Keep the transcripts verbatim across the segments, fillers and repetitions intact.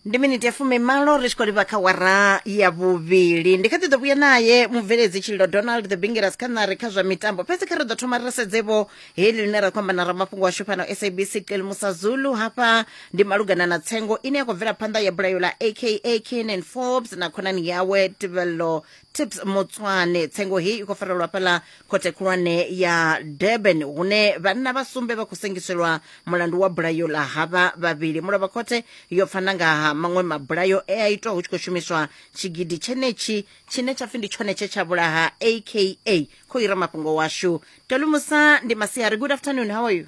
Ndi miniti ya fumimalo ri tshi khou livha kha wara ya vhuvhili. Ndi kha ḓi ḓo vhuya naye mubveledzi Tshililo Donald the Bingeras kha ṋari kha zwa mitambo. Fhedzi kha ri ḓo thoma ri sedzevho heḽi ḽine ra khou amba na ramafhungo washu fhano S A B C Qelimusa Zulu. Hafha ndi malugana na tsengo ine ya khou bvela phanḓa ya bulayo ḽa A K A Kiernan Forbes na khonani yawe Tebello Tips Motsoane. Tsengo heyi i khou farelwa fhaḽa khothe khulwane ya Durban, hune vhanna vha sumbe vha khou sengiselwa mulandu wa bulayo ḽa havha vhavhili. Mulovha khothe yo pfana nga ha maṅwe mabulayo e a itwa hu tshi khou shumiswa tshigidi tshenetshi tshine tsha pfi ndi tshone tshe tsha vhulaha A K A. Khou ira mafhungo washu Telumusa ndi masiari. Good afternoon, how are you?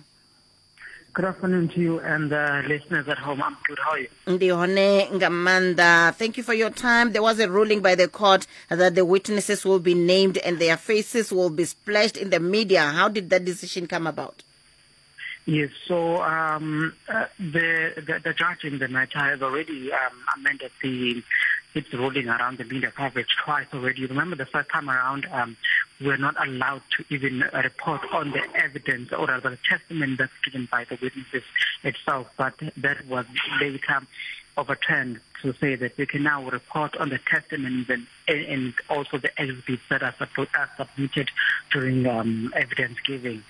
Good afternoon to you and the listeners at home. I'm good. How are you? Ndi hone nga maanḓa. Thank you for your time. There was a ruling by the court that the witnesses will be named and their faces will be splashed in the media. How did that decision come about? Yes, so um, uh, the, the the judge in the matter has already um, amended the its ruling around the media coverage twice already. Remember, the first time around, um, we were not allowed to even report on the evidence or the testament that's given by the witnesses itself, but that was later overturned to say that we can now report on the testimonies and, and also the exhibits that are, are submitted during um, evidence giving.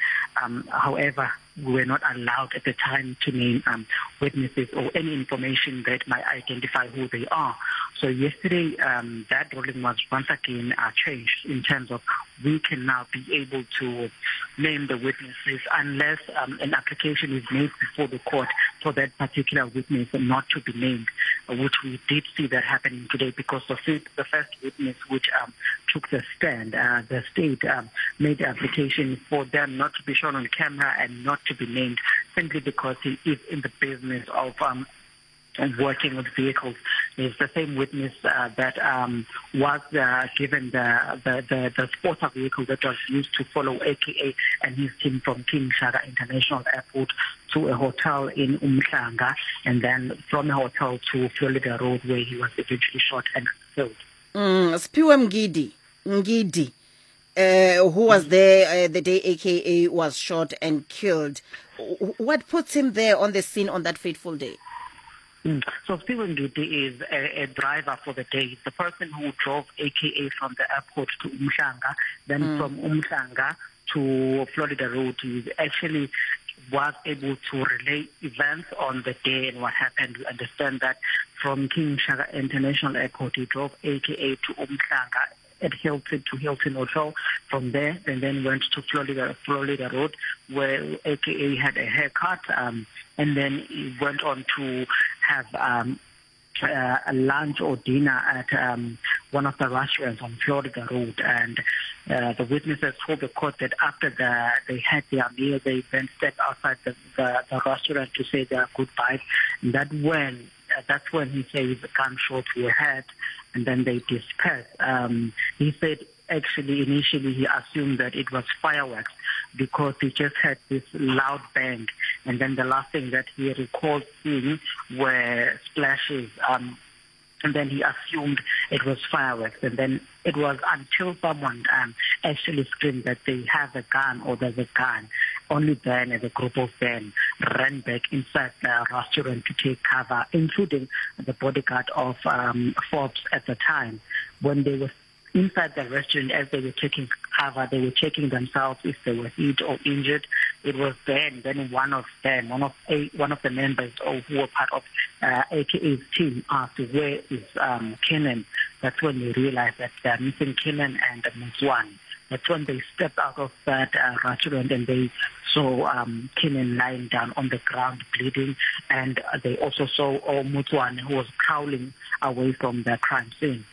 Um, however, we were not allowed at the time to name um, witnesses or any information that might identify who they are. So yesterday, um, that ruling was once again uh, changed in terms of we can now be able to name the witnesses unless um, an application is made before the court for that particular witness not to be named, which we did see that happening today because the first witness which um, took the stand, uh, the state um, made the application for them not to be shown on camera and not to be named simply because he is in the business of um, working with vehicles. Is the same witness uh, that um, was uh, given the, the, the, the spotter vehicle that was used to follow A K A and his team from King Shaka International Airport to a hotel in Umhlanga, and then from a hotel to Florida Road, where he was eventually shot and killed. Mm, Siphiwe Mgidi, Mgidi, uh, who was there uh, the day A K A was shot and killed. What puts him there on the scene on that fateful day? Mm. So Siphiwe Mgidi is a, a driver for the day, the person who drove A K A from the airport to Umhlanga, then mm. from Umhlanga to Florida Road. He actually was able to relay events on the day and what happened. We understand that from King Shaka International Airport, he drove A K A to Umhlanga at Hilton to Hilton Hotel from there, and then went to Florida, Florida Road, where A K A had a haircut, um, and then he went on to have um, uh, a lunch or dinner at um, one of the restaurants on Florida Road. And uh, the witnesses told the court that after the, they had their meal, they then stepped outside the, the, the restaurant to say their goodbyes. And that when, uh, that's when he says the gunshots were heard, and then they dispersed. Um, he said actually initially he assumed that it was fireworks because he just had this loud bang. And then the last thing that he recalled seeing were splashes. Um, and then he assumed it was fireworks. And then it was until someone um, actually screamed that they have a gun or there's a gun. Only then, as a group of them ran back inside the restaurant to take cover, including the bodyguard of um, Forbes at the time. When they were inside the restaurant, as they were taking cover, they were checking themselves if they were hit or injured. It was then, then one of them, one of a, one of the members or who were part of uh, A K A's team asked, where is um, Kiernan? That's when they realized that they're missing Kiernan and Motsoane. That's when they stepped out of that uh, restaurant and they saw um, Kiernan lying down on the ground bleeding, and they also saw Motsoane, who was crawling away from the crime scene.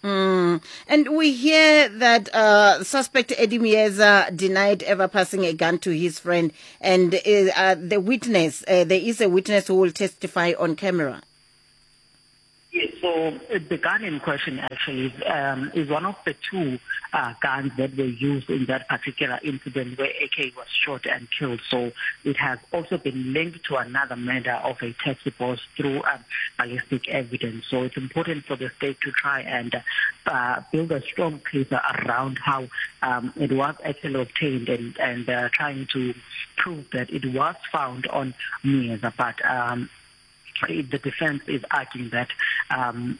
Mm. And we hear that uh, suspect Eddie Myeza denied ever passing a gun to his friend, and uh, the witness, uh, there is a witness who will testify on camera. Yes, so the gun in question actually is, um, is one of the two uh, guns that were used in that particular incident where A K was shot and killed. So it has also been linked to another murder of a taxi boss through um, ballistic evidence. So it's important for the state to try and uh, build a strong case around how um, it was actually obtained and, and uh, trying to prove that it was found on Myeza. But um, The defense is arguing that um,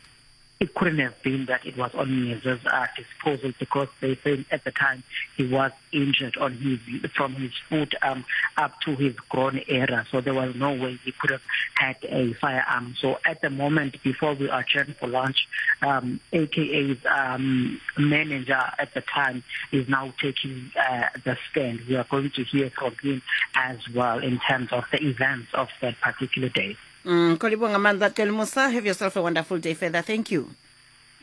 it couldn't have been that it was on Myeza's uh, disposal, because they say at the time he was injured on his from his foot um, up to his groin area, so there was no way he could have had a firearm. So at the moment, before we adjourned for lunch, um, A K A's um, manager at the time is now taking uh, the stand. We are going to hear from him as well in terms of the events of that particular day. Mm, Kolibonga Mandla Musa, have yourself a wonderful day further. Thank you.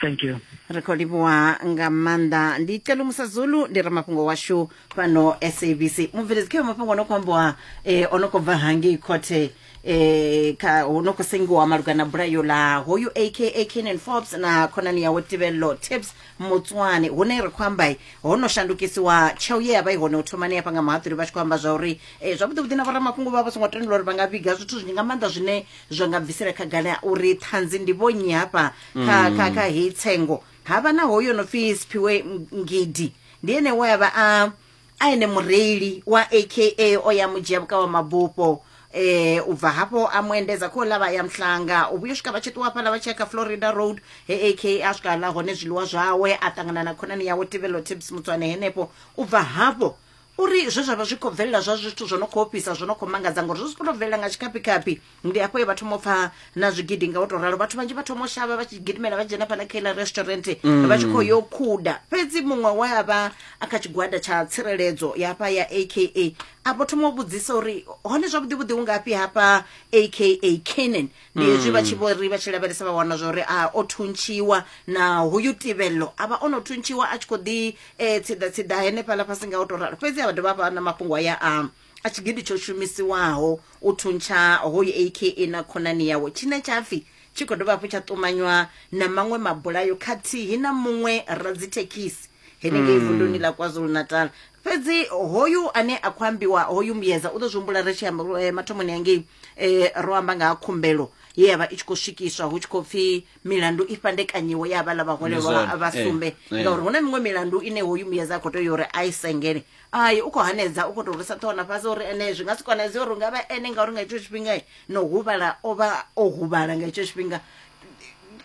Thank you. Re khou livhuwa nga maanḓa. Ndi Celumusa Zulu, ndi ramafhungo washu fhano S A B C. Mubveledzi khe mafhungo ono khou ambiwa eh ono khou bva hangei khothe eh kha ho no khou sengiwa malugana na bulayo ḽa hoyu A K A Kiernan Forbes na khonani yawe Tebello Tips Motsoane, hune ri khou amba ho no shandukisiwa tsheo ye ya vha i hone u thomani hafha nga muhaṱuli vha tshi khou amba zwa uri eh zwavhuḓi vhuḓi na vhoramafhungo vha vha songo tendelwa uri vha nga vhiga zwithu zwinzhi nga maanḓa zwine zwa nga bvisela khagala uri ṱhanzi ndi vhonnyi hafha kha kha kha heyi tsengo. Havha na hoyo no pfi Siphiwe Ngidi, ndi ene we a vha a a ene mureili wa A K A o ya mudzhia vhuka wa mabufho eh u bva hafho a muendedza kho ḽa vha ya Mhlanga, u vhuya swika vha tshi ṱuwa hafhaḽa vha tshi ya kha Florida Road he A K A a swika ḽa hone zwiḽiwa zwawe, a ṱangana na khonani yawe Tebello Tips Motsoane henefho. U bva hafho uri zwe zwa vha zwi khou bvelela zwa zwithu zwo no khou ofhisa, zwo no khou mangadza, ngori zwi khou tou bvelela nga tshikapikapi. Ndi hafho ye vha thoma u pfa na zwigidi nga u tou ralo, vhathu vhanzhi vha thoma u shavha vha tshi gidimela vha dzhena fhaḽa kha iḽa restaurant vha tshi khou yo khuda. Fhedzi muṅwe we a vha a kha tshigwada tsha tsireledzo ya hafha ya A K A a vho thoma u vhudzisa uri hone zwavhuḓi vhuḓi ungafhi hafha A K A Kiernan. Ndi hezwi vha tshi vho ri vha tshi lavhelesa vha wana zwa uri a o thuntshiwa na hoyu Tebello a vha o no thuntshiwa a tshi khou ḓi eh, tsiḓa tsiḓa henefhaḽa fhasi nga u tou ralo. Fhedzi a vha dovha vha na mafhungo aya a a tshigidi tsho shumisiwaho u thuntsha hoyu A K A na khonani yawe, tshine tsha pfi tshi khou dovha hafhu tsha ṱumanywa na maṅwe mabulayo khathihi na muṅwe radzithekhisi henengei vunduni ḽa KwaZulu-Natal. Fhedzi hoyu ane a khou ambiwa hoyu Myeza u ḓo zwi humbula ri tshi amba eh, mathomoni hangei eh, ro amba nga ha khumbelo ye ya vha i tshi khou swikiswa hu tshi khou pfi milandu i fhandekanyiwe ya vhaḽa vhaholelwa vha sumbe, ngauri hu na miṅwe milandu ine hoyu Myeza a khou tea uri a i sengele. Ai u khou hanedza, u khou tou rwisa ṱhoho na fhasi uri ene zwi nga si konadzee uri ungavha ene, ngauri nga hetsho tshifhinga no huvhala o vha o huvhala nga hetsho tshifhinga.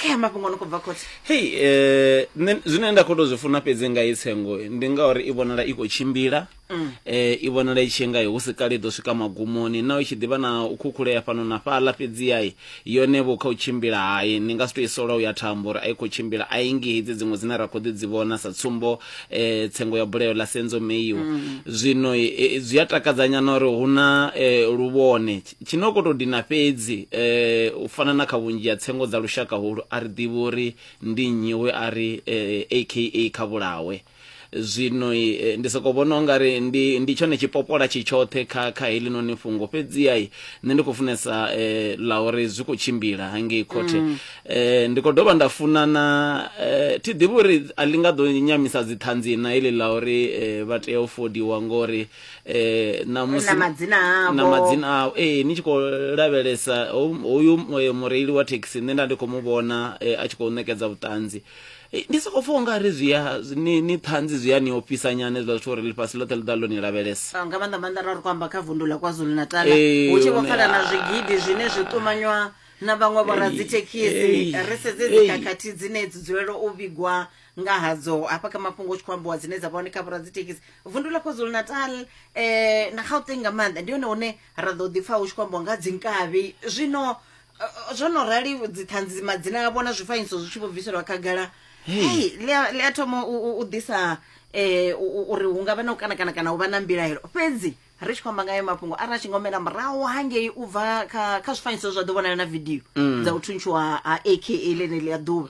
Kha mafhungo no khou bva khothe. Hey, eh nṋe zwine nda khou tou zwi funa fhedzi nga i tsengo ndi ngauri i vhonala i khou tshimbila, eh i vhonala i tshi nga hu si kale i ḓo swika magumoni, na i tshi ḓivha na u khukhulea fhano na fhaḽa, fhedzi ai yone vho kha u tshimbila hai ni nga si tou i sola u ya thambo uri a i khou tshimbila, a i ngi hedzi dziṅwe dzine ra khou ḓi dzi vhona sa tsumbo eh tsengo ya bulayo ḽa Senzo Meyiwa. Zwino zwi a takadzanyana uri hu na luvhone tshino khou tou dina fhedzi eh u fana na kha vhunzhi ha tsengo dza lushaka holu a ri ḓivhi uri ndi nnyi we a ri A K A kha vhulawe. Zwino ndi soko vhona ungari ndi ndi tshone tshipopola tshi tshoṱhe kha kha heḽinoni fhungo, fhedzi ai nṋe ndi khou funesa eh, ḽa uri zwi khou tshimbila hangei khothe. Mm. Eh, ndi khou dovha nda funa na eh, thi ḓivhi uri a ḽi nga ḓo nyamisa dziṱhanzi na heḽi ḽa uri eh, vha tea u fodiwa ngori eh, na musi na madzina avho na madzina avho eh, ni tshi khou lavhelesa hoyu mureili wa thekhisi nṋe nda ndi khou mu vhona eh, a tshi khou ṋekedza vhuṱanzi. Ndi soko pfa ungari zwi ya ni ni ṱhanzi zwi ya ni ofhisa nyana hezwiḽa zwithu uri ḽifhasi ḽoṱhe ḽi ḓa ḽo ni lavhelesa. Nga maanḓa maanḓa ra ri khou amba kha vundu ḽa KwaZulu-Natal hu tshi vho pfala na zwigidi zwine zwi ṱumanywa na vhaṅwe vhoradzithekhisi. Ri sedze dzikhakhathi dzine dzi dzulela u vhigwa nga hadzo hafha kha mafhungo tshi khou ambiwa dzine dza vha hone kha vhoradzithekhisi vundu ḽa KwaZulu-Natal eh, na Gauteng nga maanḓa ndi hone hune ra ḓo ḓi pfa hu tshi khou ambiwa nga dzinkavhi. Zwino zwo no rali dziṱhanzi madzina avho na zwifanyiso zwi tshi vho bviselwa khagala, hey ḽi a thoma u ḓisa eh uri hu nga vha na u kana kana kana u vha na mbilaelo. Fhedzi ri tshi khou amba ngayo mafhungo arali a tshi ngomela murahu hangei u bva kha kha zwifanyiso zwa ḓo vhonala na video dza u thuntshiwa ha A K A ḽeneḽi ya ḓuvha,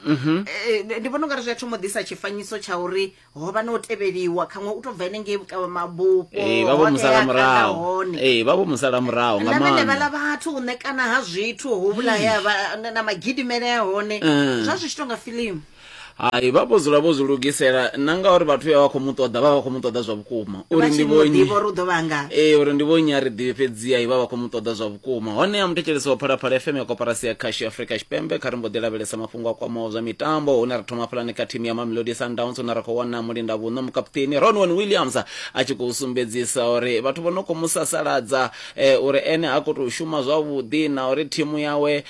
ndi vhona ungari zwi a thoma u ḓisa tshifanyiso tsha uri ho vha na u tevheliwa khaṅwe u tou bva henengei vhukavha mabufho vha vho musala murahu ee vha vho musala murahu nga maanḓa na vhene vhaḽa vhathu u ṋekana ha zwithu hu vhulaya na magidimele a hone zwa zwi tshi tonga fiḽimu. Hai, vha vho dzula vho zwi lugisela na ngauri vhathu vha vha khou mu ṱoḓa, vha vha khou mu ṱoḓa zwa vhukuma. Uri ndi vho nnyi, ee, uri ndi vho nnyi a ri ḓivhi, fhedziha vha vha khou mu ṱoḓa zwa vhukuma. Honeha muthetshelesi wa Phalaphala F M ya Koporasi ya Khasho ya Afrika Tshipembe, kha ri mbo ḓi lavhelesa mafhungo a kwamaho zwa mitambo, hune ra thoma hafhaḽani kha thimu ya Mamelodi Sundowns, hune ra khou wana mulinda vhuṋo mukaputeni Ronwen Williams a tshi khou sumbedzisa uri vhathu vho no khou mu sasaladza uri ene ha khou tou shuma zwavhuḓi na uri thimu yawe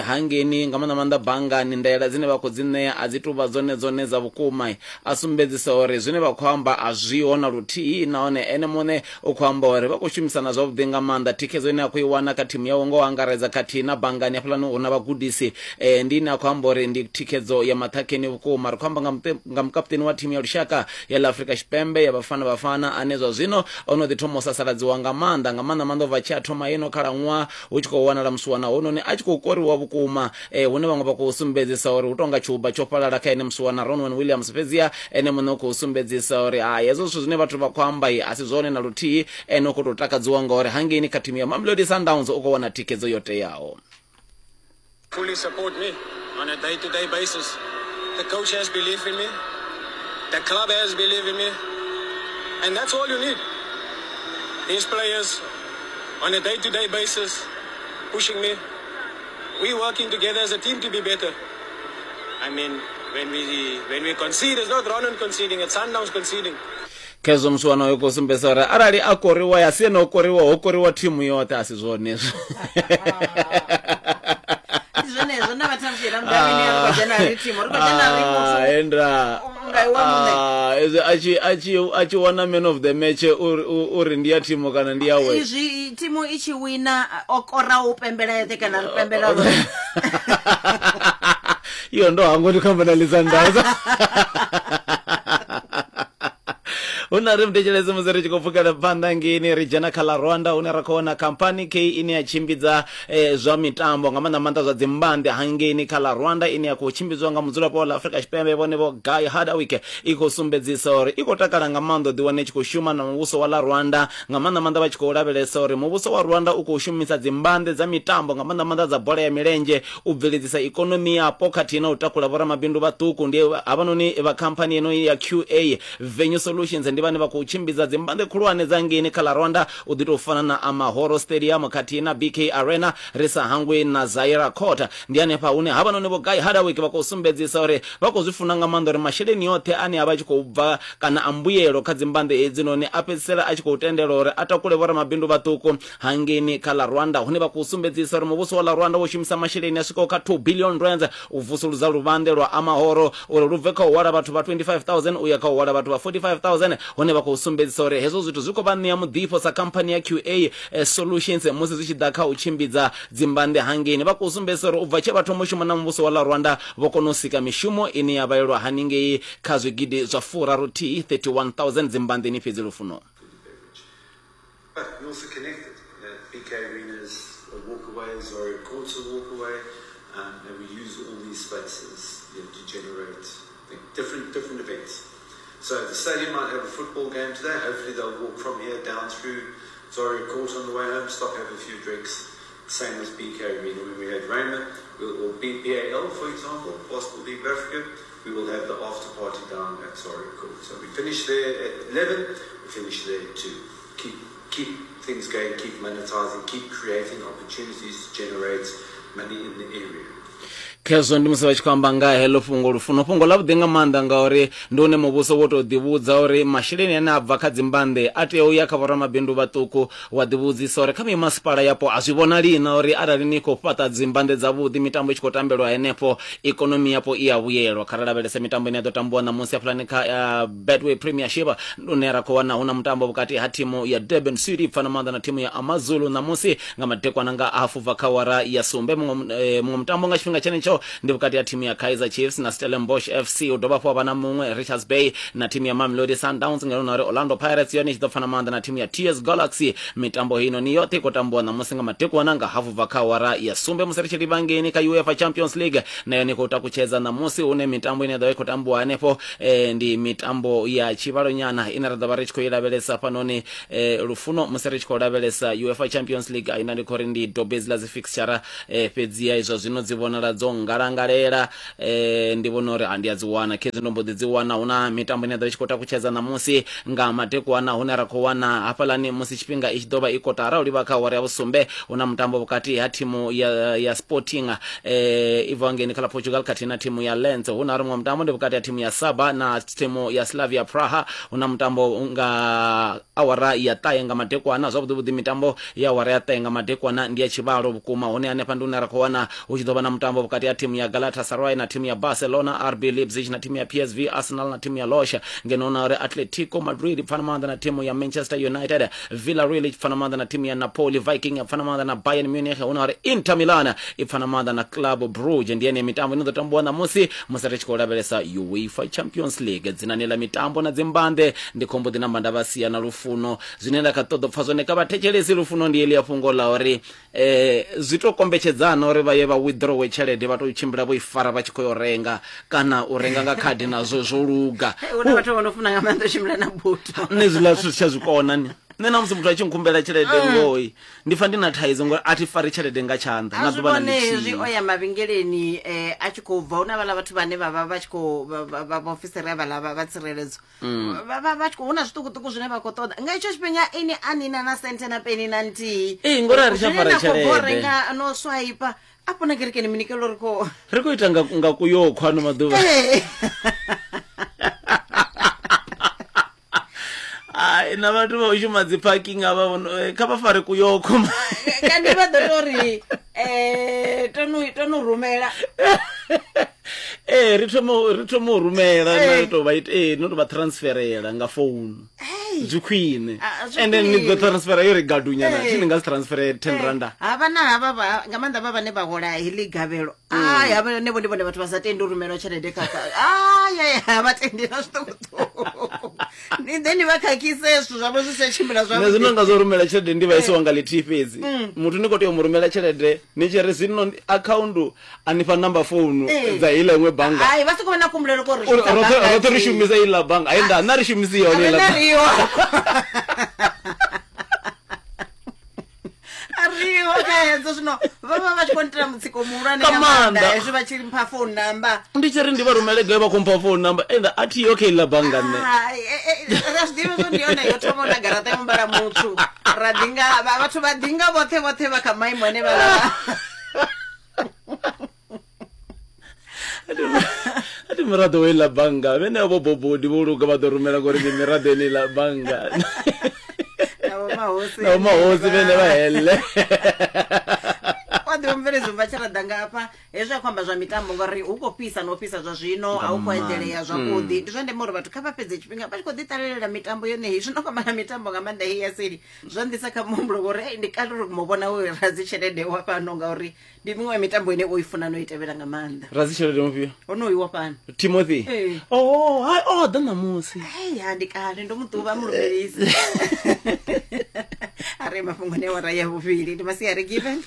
hangeni nga maanḓa maanḓa banngani ndaela dzine vha khou dzi ṋea a dzi tou vha dzone dzone dza vhukuma. A sumbedzisa uri zwine vha khou amba a zwiho na luthihi, nahone ene muṋe u khou amba uri vha khou shumisana zwavhuḓi nga maanḓa. Thikhedzo ine a khou i wana kha thimu yawe ngo angaredza khathihi na banngani hafhaḽani hu na vhagudisi, ndi ine a khou amba uri ndi thikhedzo ya maṱhakheni vhukuma. Ri khou amba nga mukaputeni wa thimu ya lushaka ya ḽa Afrika Tshipembe ya Bafana Bafana, ane zwa zwino o no ḓi thoma u sasaladziwa nga maanḓa nga maanḓa maanḓa ubva tshi a thoma ino khalaṅwaha hu tshi khou wanala musiwana hononi a tshi khou koriwa vhukuma, hune vhaṅwe vha khou sumbedzisa uri hu tonga tshiuba tsho fhalala kha ene musiwana Ronwen Williams. Fhedziha ene muṋe u khou sumbedzisa uri hai, hezwo zwithu zwine vhathu vha khou amba a si zwone na luthihi. Ene u khou tou takadziwa ngauri hangeini kha thimu ya Mamelodi Sundowns u khou wana thikhedzo yo teaho. Fully support me on a day-to-day basis. The coach has belief in me. The club has belief in me. And that's all you need. These players on a day-to-day basis pushing me. We're working together as a team to be better. I mean, when we when we concede, it's not Ronan conceding, it's Sundowns conceding. Khezwo musiwana uyo khou sumbedzisa uri arali a koriwa ya si ene o koriwa, ho koriwa thimu yoṱhe, a si zwone hezwo. Ndi zwenezwo na vhathu vha mudavhini ri khou dzhena ri thimu, ri khou dzhena ri muthu enda nga iwe muṋe. Ezwi a tshi a tshi a tshi wana man of the match uri uri ndi ya thimu kana ndi yawe. Izwi thimu i tshi wina o kora u pembela yeṱhe kana ri pembela roṱhe. Iyo ndo hangwa ndi khou amba na Sundowns. Huna ri mthetshelesi musi ri tshi khou pfukela phanḓa ngeini ri dzhena kha ḽa Rwanda, hune ra khou wana khamphani K ine ya tshimbidza zwa mitambo nga maanḓa maanḓa zwa dzimbanḓe hangeini kha ḽa Rwanda, ine ya khou tshimbidzwa nga mudzulapo wa ḽa Afrika Tshipembe vhone vho Guy Hardwick, i khou sumbedzisa uri i khou takala nga maanḓa u ḓiwana i tshi khou shuma na muvhuso wa ḽa Rwanda, nga maanḓa maanḓa vha tshi khou lavhelesa uri muvhuso wa Rwanda u khou shumisa dzimbanḓe dza mitambo nga maanḓa maanḓa dza bola ya milenzhe u bveledzisa ikonomi yapo khathihi na u takula vhoramabindu vhaṱuku. Ndi havhanoni vha khamphani ino ya Q A Venue Solutions ndi vhane vha khou tshimbidza dzimbanḓe khulwane dza ngeini kha ḽa Rwanda, u ḓi tou fana na Amahoro Stadium khathihi na B K Arena, ri sa hangwi na Zaira Court. Ndi hanefha hune havhanoni vho Guy Hardwick vha khou sumbedzisa uri vha khou zwi funa nga maanḓa uri masheleni oṱhe ane a vha tshi khou bva kana a mbuyelo kha dzimbanḓe hedzinoni a fhedzisela a tshi khou tendela uri a takule vhoramabindu vhaṱuku hangeini kha ḽa Rwanda, hune vha khou sumbedzisa uri muvhuso wa ḽa Rwanda wo shumisa masheleni a swikaho kha two billion rands u vusuludza luvhanḓe lwa Amahoro uri lu bve kha u hwala vhathu vha twenty-five thousand u ya kha u hwala vhathu vha forty-five thousand, hune vha khou sumbedzisa uri hezwo zwithu zwi khou vha ṋea muḓifho sa khamphani ya Q A Solutions musi zwi tshi ḓa kha u tshimbidza dzimbanḓe hangeini. Vha khou sumbedzisa uri u bva tshe vha thoma u shuma na muvhuso wa ḽa Rwanda vho kona u sika mishumo ine ya vhalelwa haningei kha zwigidi zwa furaru thihi thirty-one thousand dzimbanḓeni fhedzi lufuno. But we also connected. B K Arena is a walk away, Zaria Court's a walk away, um, and we use all these spaces, you know, to generate different different events. So the stadium might have a football game today. Hopefully they'll walk from here down through Zaria Court on the way home, stop, have a few drinks. Same with B K Arena. When we had Rayma, we'll, or B A L, for example, Basketball League of Africa, we will have the after party down at Zaria Court. So we finish there at eleven, we finish there at two. Keep, keep things going, keep monetizing, keep creating opportunities to generate money in the area. Khezwo ndi musi vha tshi khou amba nga heḽo fhungo lufuno, fhungo ḽa vhuḓi nga maanḓa ngauri ndi hune muvhuso wo tou ḓivhudza uri masheleni ane a bva kha dzimbanḓe a tea u ya kha vhoramabindu vhaṱuku. Wa ḓivhudzisa uri kha mimasipala yapo a zwi vhonali na uri arali ni khou fhaṱa dzimbanḓe dzavhuḓi mitambo i tshi khou tambelwa henefho ikonomi yapo i a vhuyelwa. Kha ri lavhelese mitambo ine ya ḓo tambiwa ṋamusi hafhaḽani kha uh, Betway Premiership, ndi hune ra khou wana hu na mutambo vhukati ha thimu ya Durban City pfana maanḓa na thimu ya Amazulu ṋamusi nga madekwana nga hafu bva kha awara ya sumbe. Muṅwe muṅwe mutambo nga tshifhinga tshenetsho ndi vhukati ha thimu ya Kaizer Chiefs na Stellenbosch F C, u dovha hafhu vha na muṅwe Richards Bay na thimu ya Mamelodi Sundowns, ngeno na uri Orlando Pirates yone i tshi ḓo pfana maanḓa na thimu ya T S Galaxy. Mitambo hino ni yoṱhe i khou tambiwa ṋamusi nga madekwana nga hafu bva kha awara ya sumbe. Musi ri tshi livha ngeni kha UEFA Champions League na yone i khou takutshedza ṋamusi, hune mitambo ine ya ḓo vha i khou tambiwa hanefho eh, ndi mitambo ya tshivhalo nyana ine ra ḓo vha ri tshi khou i lavhelesa fhanoni eh, lufuno. Musi ri tshi khou lavhelesa UEFA Champions League aina ndi khou ri ndi dobedzi ḽa dzi fixture eh, fhedziha izwo zwino dzi vhonala dzo ngalangalela eh ndi vhona uri andi a dzi wana khezwi ndo mbo ḓi dzi wana. Hu na mitambo ine ya ḓo tshi khou takutshedza ṋamusi nga madekwana hune ra khou wana hafhaḽani musi tshifhinga i tshi ḓo vha i kotara u livha kha awara ya vhusumbe. Hu na mutambo vhukati ha thimu ya, ya Sporting eh i bvaho ngeni kha ḽa Portugal khathihi na thimu ya Lens. Hu na muṅwe mutambo ndi vhukati ha thimu ya Saba na thimu ya Slavia Praha. Hu na mutambo nga awara ya ṱahe nga madekwana. Zwavhuḓi vhuḓi mitambo ya awara ya ṱahe nga madekwana ndi ya tshivhalo vhukuma, hune hanefha ndi hune ra khou wana hu tshi ḓo vha na mutambo vhukati ha thimu ya Galatasaray na thimu ya Barcelona, R B Leipzig na thimu ya P S V, Arsenal na thimu ya Losha, ngeno na uri Atletico Madrid pfana maanḓa na thimu ya Manchester United, Villarreal i pfana maanḓa na thimu ya Napoli, Viking ya pfana maanḓa na Bayern Munich, hu na uri Inter Milan i pfana maanḓa na Club Brugge. Ndi ene mitambo ino ḓo tambiwa ṋamusi musi ri tshi khou lavhelesa UEFA Champions League. Dzinani ḽa mitambo na dzimbanḓe ndi khombo ḓi namba nda vha sia na Lufuno. Zwine nda kha ṱoḓa pfa zwone kha vhathetshelesi Lufuno ndi heḽi ya fhungo ḽa uri eh zwi to kombetshedzana uri vha ye vha withdraw tshelede vha to tshimbila vho i fara vha tshi khou yo renga kana u renga nga khadi nazwo zwo luga. Hu na vhathu vho no funa nga maanḓa u tshimbila na buto. Nṋe zwiḽa zwithu tsha zwikona ni. Nṋe na musi muthu a tshi nkhumbela tshelede ngoi ndi pfa ndi na thaidzo ngori a thi fari tshelede nga tshanḓa na ḓuvha na lithihi. Zwi o ya mavhengeleni eh a tshi khou bva hu na vhaḽa vhathu vhane vha vha vha tshi khou vha vhaofisiri vhaḽa vha tsireledzo vha vha tshi khou hu na zwiṱukuṱuku zwine vha khou ṱoḓa nga itsho tshifhinga ini a nina na senthe na peni na nthihi. Ee ngori a ri tsha fara tshelede renga no swipe afho na kerekeni minikelo ri khou ri khou ita nga nga kuyo khwano maḓuvha. Ai na vhathu vha u shuma dzi parking avha kha vha fare kuyokho kandi vha ḓo tori eh tonu tonu rumela eh ri thomo ri thomo rumela na to vha ite eh no to vha transferela nga phone zwi khwine and then ni ḓo transfera yo ri gadunya na tshini nga transfer ten randa ha vha na havha nga maanḓa vha vhane vha hola heḽi gavhelo ai havha ne vho ndi vhone vhathu vha sa tendi u rumelwa tshelede kha ai ai vha tendi na zwiṱukuṱuku ni then vha khakhise zwithu zwavho zwi sa tshimbila zwavhuḓi. Nṋe zwino nga zwo rumela tshelede ndi vha isiwa nga lithihi fhedzi muthu ni khou tea u mu rumela tshelede ni tshi ri zwino account a ni fha number phone dza iḽa iṅwe bannga ai vha soko vha na kumbulelo ko ri roṱhe ri shumisa iḽa bannga ai nda nṋe ri shumisi yone iḽa ariho khaedzo zwino vha vha vha tshi khou ntela mutsiko muhulwane nga maanḓa hezwi vha tshi mpha phone number ndi tshi ri ndi vha rumele gai vha khou mpha phone number enda a thi yo kha iḽa bannga nṋe ra zwi ḓivha zwo ndi yone yo thoma na garaṱa ya muvhala mutswu ra ḓinga vhathu vha ḓinga vhoṱhe vhoṱhe vha kha maimo ane vha ati miraḓo wa iḽa bannga vhene vho bobodi vho luga vha ḓo rumela ngori ndi miraḓo ene iḽa bannga na mahosi vhene vha hele wa ḓivha mubveledzi vha tshi ra ḓa nga hafha hezwi a khou amba zwa mitambo ngori hu khou fhisa no fhisa zwa zwino a hu khou eḓelea zwavhuḓi. Ndi zwa ndeme uri vhathu kha vha fhedze tshifhinga vha tshi khou ḓi ṱalelela mitambo yone heyi. Zwino khou amba na mitambo nga maanḓa heyi ya seli zwa nḓisa kha muhumbulo ngori ndi kale uri mu vhona uri radzi tshelede wa fhano ngauri ndi miṅwe ya mitambo ine o i funa no i tevhela nga maanḓa. Radzi tshelede mufhio? Honoyu wa fhano Timothy. Oh hai o ḓa ṋamusi. Hei ha ndi kale ndo muṱuvha mulubelisi. A re mafhungoni a awara ya vhuvhili ndi masiari Given.